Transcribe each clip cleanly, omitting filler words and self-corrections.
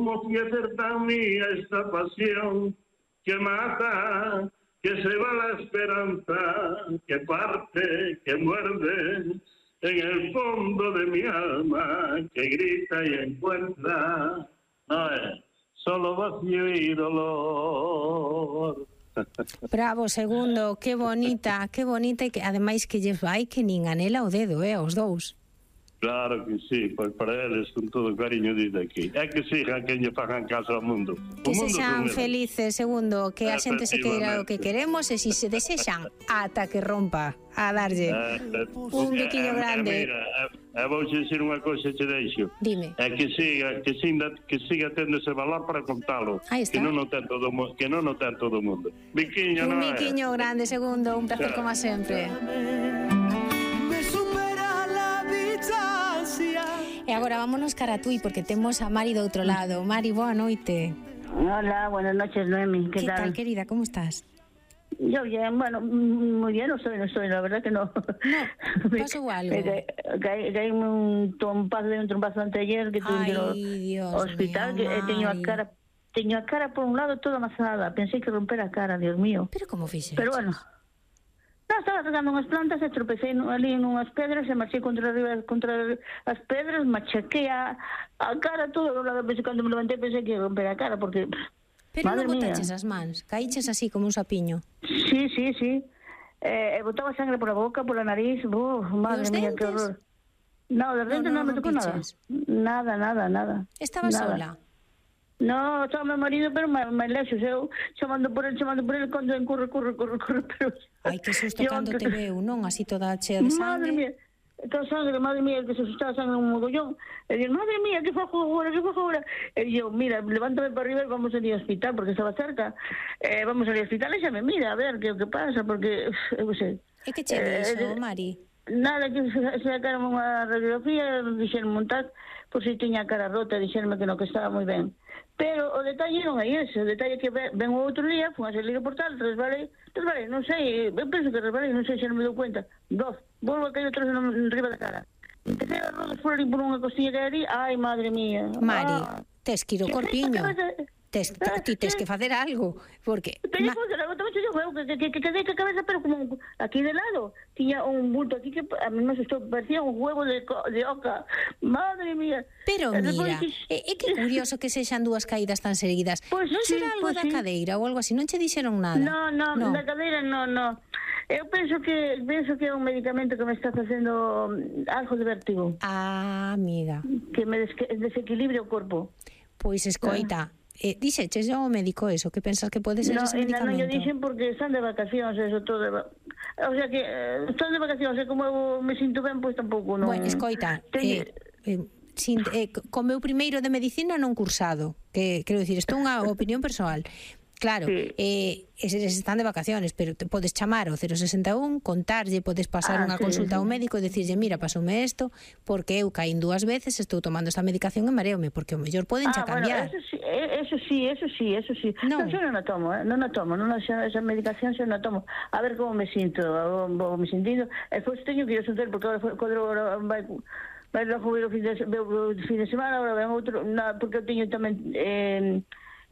¿Cómo ofrecer tan mía esta pasión que mata, que se va la esperanza, que parte, que muerde en el fondo de mi alma, que grita y encuentra solo vacío y dolor? Bravo, Segundo, que bonita, e que ademais que lles vai que nin anela o dedo, os dous. Claro que sí, pois para eles con todo o cariño desde aquí. É que sigan que lle fagan caso ao mundo. Que sexan felices, Segundo, que a xente se queira o que queremos e se desexan ata que rompa a darlle un biquiño grande. Mira, vou dicir unha cousa che deixo. Dime. É que siga tendo ese valor para contalo. Que non o ten todo o mundo. Biquiño, un biquiño grande, Segundo, un placer como sempre. E agora vámonos cara a Tui, porque temos a Mari do outro lado. Mari, boa noite. Hola, buenas noches, Noemi. ¿Qué tal, querida? ¿Cómo estás? Yo bien, bueno, muy bien no estoy, la verdad que no. No, pasó algo. Caí un trompazo anteayer que tuve que hospital, mío, que teño a cara por un lado toda amasada. Pensé que romper a cara, Dios mío. Pero como fixeches? Pero bueno. No, estaba tocando unhas plantas e tropecei ali nunhas pedras e marchei contra as pedras, machaquei a cara todo do lado, cando me levantei pensei que ia romper a cara porque... Pero non botaches as mans, caíches así como un sapiño. Sí. Botaba sangre por a boca, por a nariz, madre mía, que horror. No, de dentes non me tocou nada. Nada. Estaba sola? No, estaba meu marido, pero máis lexos, eu chamando por el, cando corre, pero... Ai, que susto cando te veu, non? Así toda chea de Madre sangue. mía, toda sangre, madre mía, que se asustaba sangre un mogollón. E digo, madre mía, que fajo agora? E eu, mira, levántame para arriba e vamos ali ao hospital, porque estaba cerca. Vamos ali ao hospital e xa me mira, a ver que o que pasa, porque, eu sei. E que che dixo, Mari? Nada, que se sacaron unha radiografía, dixeron montar, por si tiña a cara rota, dixeronme que no, que estaba moi ben. Pero o detalle non é ese, o detalle é que ven o outro día, fun a salir o portal, resbalei, non sei, eu penso que resbalei, non sei se non me dou cuenta, volvo a caer outra vez riba da cara. Empecé a rodas por ali por unha costilla que aí, ai, madre mía. Mari, tes que ir ao corpiño. Ti tes que facer algo, porque... Pero que quedei que a cabeza, pero como aquí de lado, tiña un bulto aquí que a mí me asustó, parecía un huevo de oca. Madre mía. Pero mira, é que curioso que sexan dúas caídas tan seguidas. Non será algo da cadeira ou algo así, non che dixeron nada? No, da cadeira no. Eu penso que é un medicamento que me está facendo algo de vértigo. Ah, amiga. Que me desequilibre o corpo. Pois escoita, dixeches ao médico eso, que pensas que pode ser ese medicamento? Non, eu dixen porque están de vacacións, eso todo. O sea que están de vacacións, e como eu me sinto ben, pois tampouco non. Bueno, escoita, co meu primeiro de medicina non cursado, que quero dicir, isto é unha opinión persoal. Claro, eses están de vacaciones, pero te podes chamar ao 061, contarlle, podes pasar unha consulta ao médico e dicirlle, mira, pasoume isto, porque eu caín 2 veces, estou tomando esta medicación e mareome, porque o mellor poden xa cambiar. Eso sí. Non, eu non a tomo, esa medicación xa non a tomo. A ver como me sinto, e pois teño que ir a sentar, porque agora vai a jubilar o fin de semana, agora ven outro, porque eu teño tamén...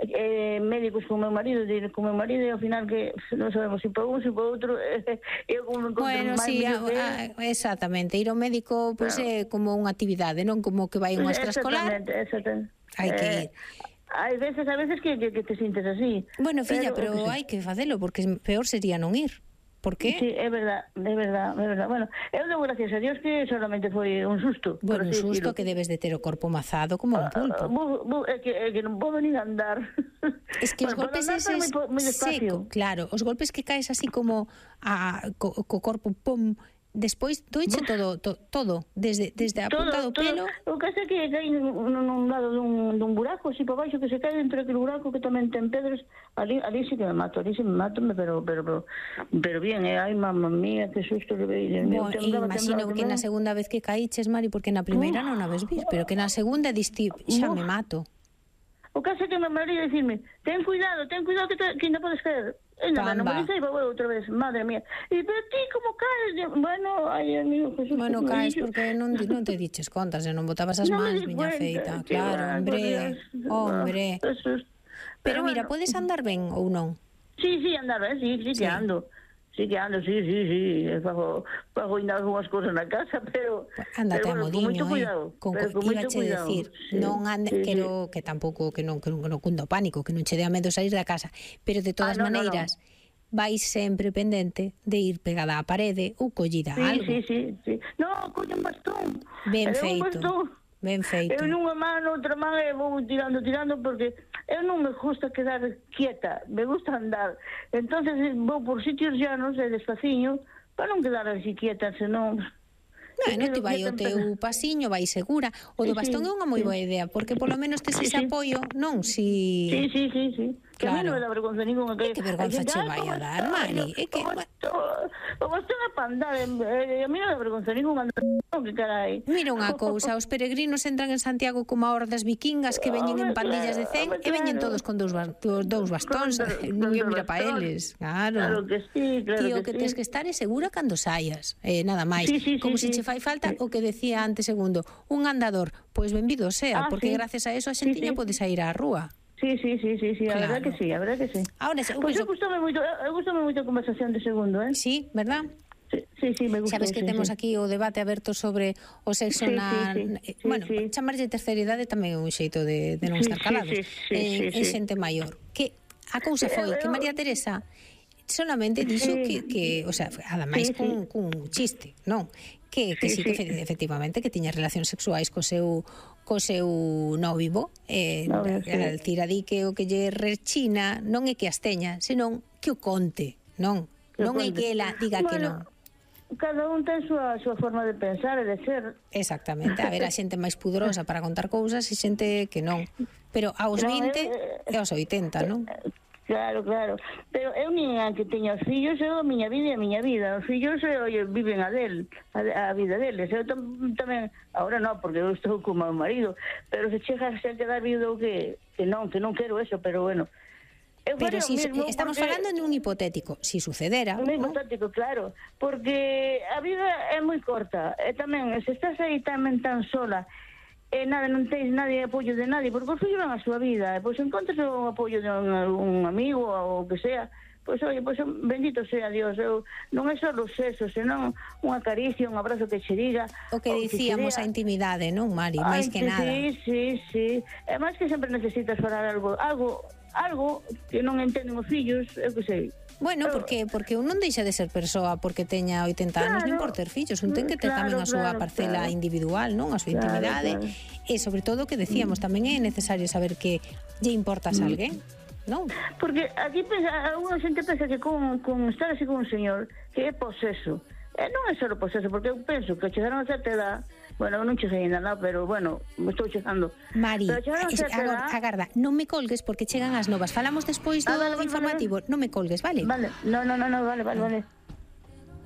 médicos con meu marido e ao final que non sabemos se para un, se para outro eu como me encontro exactamente, ir ao médico pois é como unha actividade, non como que vai a unha extraescolar. Exactamente. Hai que ir. Hai veces que te sintes así. Bueno, filla, pero hai que facelo, porque peor sería non ir. ¿Por qué? Sí, é verdad. Bueno, eu dou gracias a Dios que solamente foi un susto. Bueno, un susto que debes de ter o corpo mazado como un pulpo. É que non podo nin andar. Es que os golpes eses seco, claro, os golpes que caes así como co corpo pum, despois doiche todo, desde a punta do pelo. O que é que caí nun lado dun buraco, así para baixo, que se cae dentro daquele buraco que tamén ten pedras, ali sí que me mato, pero bien, ai, mamma mía, que susto que veí. Imagino que na segunda vez que caíches, Mari, porque na primeira non a ves vir, pero que na segunda diste, xa me mato. O caso é que me marido dicirme, ten cuidado que ainda podes caer. non me dice, outra vez, madre mía. E pero ti como caes? Bueno, ai, amigo Jesús. Bueno, caes porque non te diches contas, non botabas as mans, miña feita. Claro, hombre. Pero mira, podes andar ben ou non? Sí, andar ben, sí que ando. Sí. Fago ainda algunhas cosas na casa, pero... Ándate a modiño, Iba che decir, non ande, quero que tampouco, que non cunda o pánico, que non che dea medo sair da casa, pero de todas maneiras, vais sempre pendente de ir pegada á parede ou collida a algo. Sí. Non, colle un bastón. Ben feito. Eu nunha mano, outra man, e vou tirando, porque eu non me gusta quedar quieta, me gusta andar. Entonces vou por sitios llanos e despaciño, para non quedar así quieta, senón... Non te vai o teu pasiño, vai segura. O do bastón é unha moi boa idea, porque polo menos tes ese apoio, non? Sí. Que a mí non me dá vergonza ninguna. Que vergonza che vai a dar, Mari? É que... O bastón é para andar, a mí non dá vergonza ninguna. Que carai. Mira unha cousa, os peregrinos entran en Santiago como a hordas vikingas que veñen en pandillas de 100 e veñen todos con dous bastóns. Non ia mira pa eles. Claro que sí, Tío, que tes que estar segura cando saias. Nada máis. Como se che fai falta o que decía antes segundo, un andador, pois benvido sea, porque gracias a eso a xentiña pode sair á rúa. Sí, a verdad que sí. Ahora, pois eu gustame moito a conversación de segundo, Sí, verdad? Sí, me gusta. Sabes que temos aquí o debate aberto sobre o sexo na... Bueno, chamarlle terceira idade tamén é un xeito de non estar calados. En xente maior. Que a cousa foi que María Teresa solamente dixo que, o sea, ademais cun chiste, non? Que sí que efectivamente que tiña relacións sexuais co seu nóvivo, tira di que o que lle rechina non é que as teña, senón que o conte, non é que ela diga que non. Cada un ten a súa forma de pensar e de ser. Exactamente, a ver, a xente máis pudorosa para contar cousas e xente que non. Pero aos 20 e aos 80, non? Claro. Pero eu nin a que teña os fillos, eu a miña vida e a miña vida. Os fillos viven a vida deles. Eu tamén, agora non, porque eu estou como meu marido, pero se chega a quedar viudo que non quero eso, pero bueno. Pero si estamos falando de un hipotético, si sucedera. Un hipotético, claro, porque a vida é moi corta, e tamén, se estás aí tamén tan sola, non tens nadie apoio de nadie, porque os fillos van a súa vida, pois encontras o apoio de un amigo ou o que sea, pois bendito sea Dios. Non é só o sexo, senón unha caricia, un abrazo que che diga o que dicíamos, a intimidade, non, Mari? Máis que nada. Sí. É máis que sempre necesitas falar algo que non entenden os fillos, eu que sei. Bueno, porque un non deixa de ser persoa porque teña 80 anos nin por ter fillos, un ten que ter tamén a súa parcela individual, non? A súa intimidade, e sobre todo que decíamos, tamén é necesario saber que lle importas a alguén, non? Porque aquí alguna xente pensa que con estar así con un señor que é poseso. Non é só poseso, porque eu penso que chegaron a certa edad. Bueno, non cheguei ainda nada, pero bueno, me estou chegando. Mari, agarda, non me colgues porque chegan as novas. Falamos despois do informativo. Non me colgues, vale? Vale, no, vale.